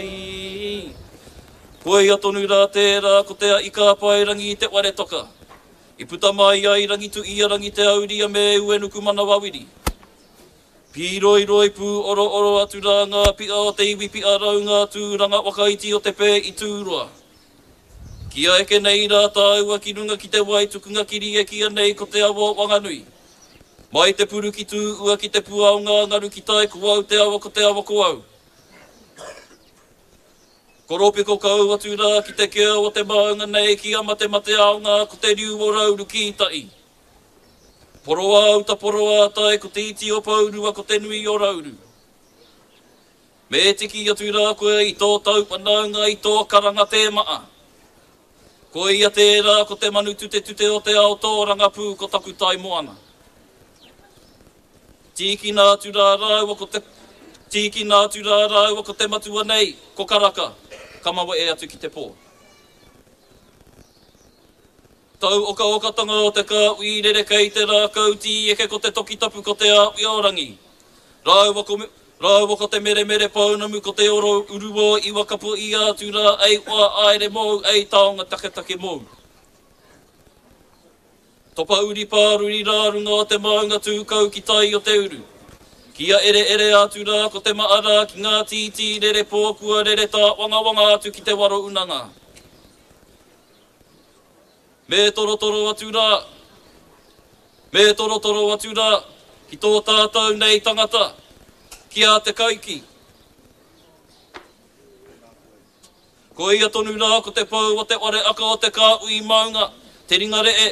I. Koia tonu rā tērā ko te Ika-a-Paerangi i te ware toka. I puta mai ai Rangituiarangi Te Auria me Uenukumanawawiri. Pīroiroi pūorooro atu rā ngā pia o te iwi pia rau ngā tūranga waka iti o te pē i Tūroa. Kia eke nei rā tāua ki runga ki te wai tukunga kiri e kīa nei ko te awa o Wanganui. Mai te puru ki Tū ua ki te pua o ngā ngaru ki tai ko au te awa ko te awa ko au. Koropiko kau atu rā ki te kea o te maunga nei ki a Matemateaonga ko te riu o Rauru ki tai. Poroa-uta poroa-tai ko te iti o Pourua ko te nui o Rauru. Me tiki atu rā koe i tō tau whanaunga i tō karanga tēmaa. Koia tērā ko te manu tutetute o te ao tōrangapū ko taku tai moana. Tīkina atu rā rāua ko te Tīkina atu rā rāua ko te matua nei, ko Karaka, ka mawe'e atu ki te pō. Tau okaokatanga o te kāhui rere kei te rākau tīeke ko te toki tapu ko te āwhia o Rangi. Rāua ko Rāua ko te meremere pounamu ko te oro uruō iwa kapo ia atu rā ei oa aere mōu ei taonga taketake mōu. Topa-uri pāruri rā runga o te maunga tūkau ki tai o te uru. Kia ereere atu rā ko te maa rā ki ngā tītī rere pō kua rere tāwangawanga atu ki te waro unanga. Me torotoro atu rā, me torotoro atu rā ki tō tātou nei tangata, ki a Te Kaiki. Ko ia tonu rā ko te pou o te ware aka o te kāhui maunga, te ringa re'e,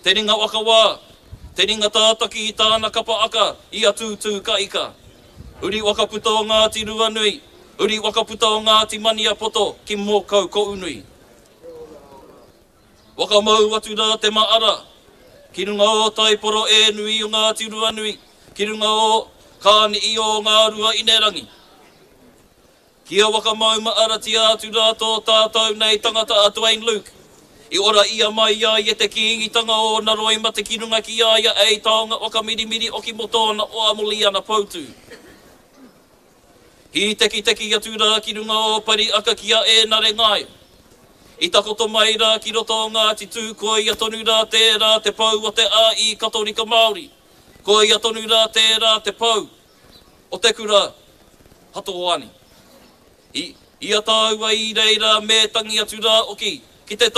te ringa whakawā, te ringa tātaki i tāna kapa aka i a Tūtū ka ika. Uri whakaputa o Ngāti Ruanui, uri whakaputa o Ngāti Maniapoto ki Mōkau Kounui. Whakamau atu rā te maara ki runga o Taiporo e nui o Ngāti Ruanui, ki runga o Kāni'i o Ngā Rua Inerangi. Kia whakamaumaaratia atu rā tō tātou nei tangata a Dwayne Luke. I ora ia mai ai e te Kīngitanga o ōna roimata ki runga ki a ia ei taonga whakamirimiri oki mō tōna oa mō Liana Poutu. Hītekiteki atu rā ki runga o Pari aka ki a Ēnare Ngaio. I takoto mai rā ki roto o Ngāti Tū koia tonu rā tērā te pou o te āī Katorika Māori. Koia tonu rā tērā te pou o te kura Hato Hoani. I, i a tāua i reira me tangi atu rā oki ki te.